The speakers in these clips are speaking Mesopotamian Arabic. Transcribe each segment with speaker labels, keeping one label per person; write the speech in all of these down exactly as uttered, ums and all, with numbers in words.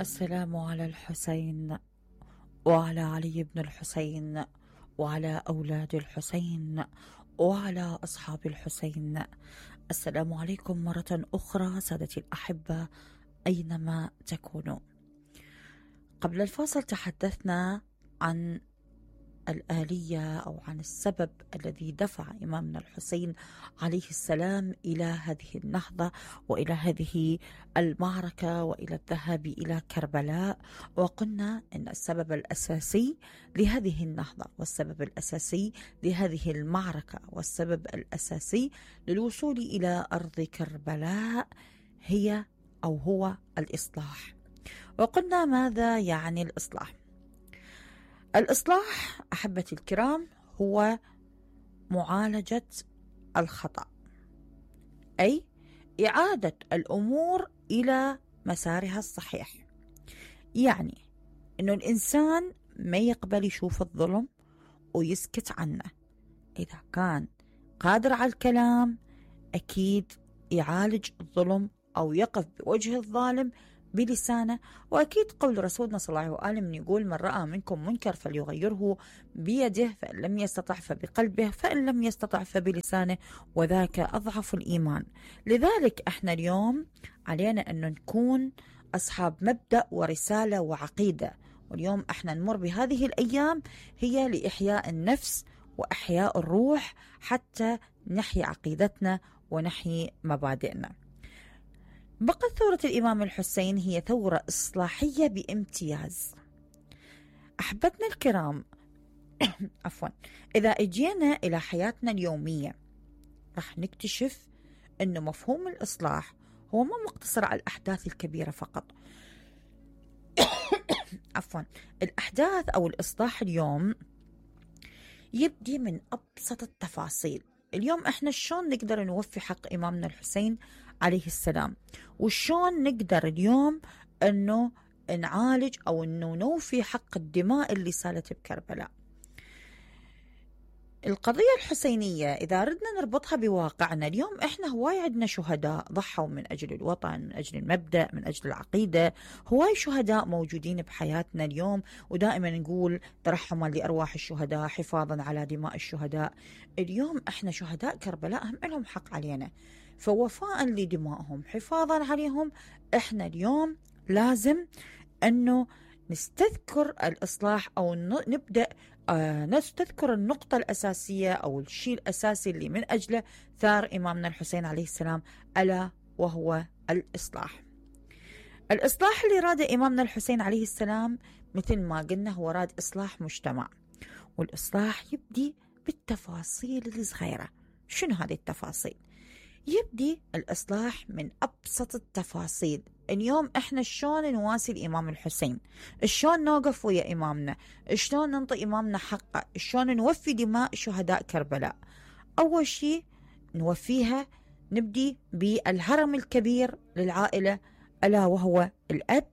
Speaker 1: السلام على الحسين وعلى علي بن الحسين وعلى أولاد الحسين وعلى أصحاب الحسين. السلام عليكم مرة أخرى سادتي الأحبة أينما تكونوا. قبل الفاصل تحدثنا عن الآلية أو عن السبب الذي دفع إمامنا الحسين عليه السلام إلى هذه النهضة وإلى هذه المعركة وإلى الذهاب إلى كربلاء، وقلنا أن السبب الأساسي لهذه النهضة والسبب الأساسي لهذه المعركة والسبب الأساسي للوصول إلى أرض كربلاء هي أو هو الإصلاح. وقلنا ماذا يعني الإصلاح؟ الإصلاح أحبتي الكرام هو معالجة الخطأ، أي إعادة الأمور إلى مسارها الصحيح. يعني إنه الإنسان ما يقبل يشوف الظلم ويسكت عنه، إذا كان قادر على الكلام أكيد يعالج الظلم أو يقف بوجه الظالم بلسانه. وأكيد قول رسولنا صلى الله عليه وسلم يقول: من رأى منكم منكر فليغيره بيده، فإن لم يستطع فبقلبه، فإن لم يستطع فبلسانه، وذاك أضعف الإيمان. لذلك احنا اليوم علينا أن نكون أصحاب مبدأ ورسالة وعقيدة، واليوم احنا نمر بهذه الأيام هي لإحياء النفس وإحياء الروح حتى نحيي عقيدتنا ونحيي مبادئنا. بقت ثورة الإمام الحسين هي ثورة إصلاحية بامتياز. أحبتنا الكرام عفوا إذا اجينا إلى حياتنا اليومية رح نكتشف أنه مفهوم الإصلاح هو ما مقتصر على الأحداث الكبيرة فقط. عفوا الأحداث أو الإصلاح اليوم يبدي من أبسط التفاصيل. اليوم احنا شلون نقدر نوفي حق إمامنا الحسين عليه السلام، وشلون نقدر اليوم انه نعالج او انه نوفي حق الدماء اللي سالت بكربلاء. القضية الحسينية إذا ردنا نربطها بواقعنا اليوم، إحنا هواي عندنا شهداء ضحوا من أجل الوطن، من أجل المبدأ، من أجل العقيدة. هواي شهداء موجودين بحياتنا اليوم، ودائما نقول ترحما لأرواح الشهداء حفاظا على دماء الشهداء. اليوم إحنا شهداء كربلاء هم لهم حق علينا، فوفاء لدمائهم حفاظا عليهم إحنا اليوم لازم أنه نستذكر الإصلاح أو نبدأ آه نستذكر النقطة الأساسية أو الشيء الأساسي اللي من أجله ثار إمامنا الحسين عليه السلام، ألا وهو الإصلاح. الإصلاح اللي راد إمامنا الحسين عليه السلام مثل ما قلنا هو راد إصلاح مجتمع، والإصلاح يبدي بالتفاصيل الصغيرة. شنو هذه التفاصيل؟ يبدي الإصلاح من أبسط التفاصيل. اليوم إحنا شلون نواسي الإمام الحسين، شلون نوقف ويا إمامنا، شلون ننطي إمامنا حقه، شلون نوفي دماء شهداء كربلاء. أول شيء نوفيها نبدي بالهرم الكبير للعائلة ألا وهو الأب.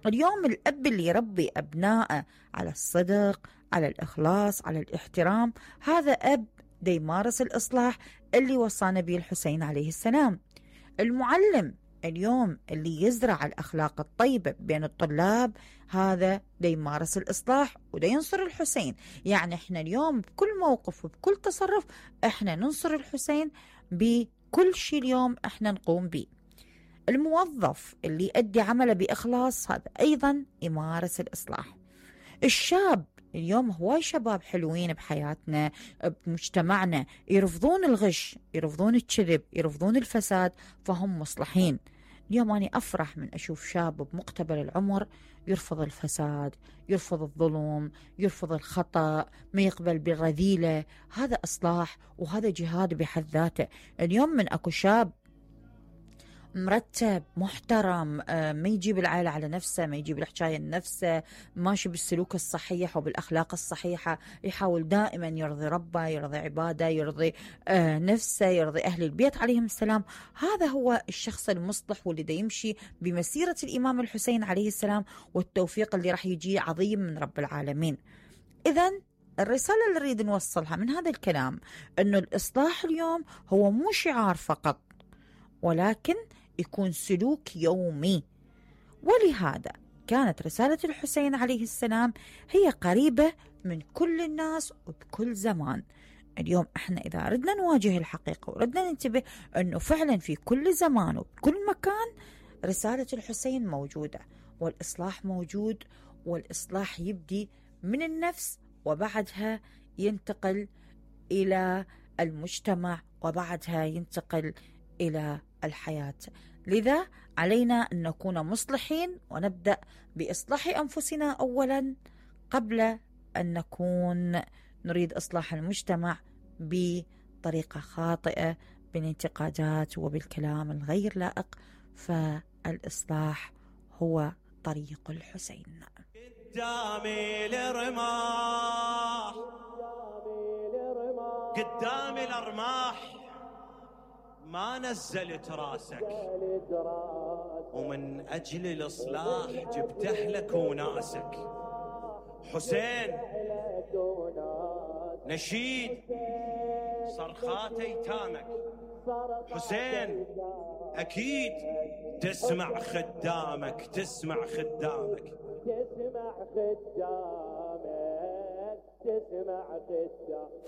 Speaker 1: اليوم الأب اللي يربي أبنائه على الصدق، على الإخلاص، على الاحترام، هذا أب دي يمارس الإصلاح اللي وصانا به الحسين عليه السلام. المعلم اليوم اللي يزرع الأخلاق الطيبة بين الطلاب، هذا دي يمارس الإصلاح ودي ينصر الحسين. يعني احنا اليوم بكل موقف وبكل تصرف احنا ننصر الحسين بكل شيء اليوم احنا نقوم به. الموظف اللي يؤدي عمله بإخلاص هذا أيضا يمارس الإصلاح. الشاب اليوم هواي شباب حلوين بحياتنا بمجتمعنا يرفضون الغش، يرفضون الكذب، يرفضون الفساد، فهم مصلحين. اليوم أنا أفرح من أشوف شاب بمقتبل العمر يرفض الفساد، يرفض الظلم، يرفض الخطأ، ما يقبل بالرذيلة. هذا إصلاح وهذا جهاد بحد ذاته. اليوم من أكو شاب مرتب محترم، ما يجيب العائلة على نفسه، ما يجيب الحكاية لنفسه، ماشي بالسلوك الصحيح وبالأخلاق الصحيحة، يحاول دائما يرضي ربه، يرضي عباده، يرضي نفسه، يرضي أهل البيت عليهم السلام. هذا هو الشخص المصلح واللي دا يمشي بمسيرة الإمام الحسين عليه السلام، والتوفيق اللي راح يجي عظيم من رب العالمين. إذن الرسالة اللي نريد نوصلها من هذا الكلام أنه الإصلاح اليوم هو مو شعار فقط، ولكن يكون سلوك يومي. ولهذا كانت رسالة الحسين عليه السلام هي قريبة من كل الناس وبكل زمان. اليوم احنا إذا ردنا نواجه الحقيقة وردنا ننتبه أنه فعلا في كل زمان وبكل مكان رسالة الحسين موجودة، والإصلاح موجود، والإصلاح يبدي من النفس وبعدها ينتقل إلى المجتمع وبعدها ينتقل إلى الحياة. لذا علينا أن نكون مصلحين ونبدأ بإصلاح أنفسنا أولا قبل أن نكون نريد إصلاح المجتمع بطريقة خاطئة بالانتقادات وبالكلام الغير لائق. فالإصلاح هو طريق الحسين.
Speaker 2: قدامي الرماح، قدامي الأرماح، ما نزلت راسك، ومن أجل الإصلاح جبت أهلك وناسك. حسين نشيد صرخات أيتامك، حسين أكيد تسمع خدامك، تسمع خدامك، تسمع خدامك، تسمع خدامك.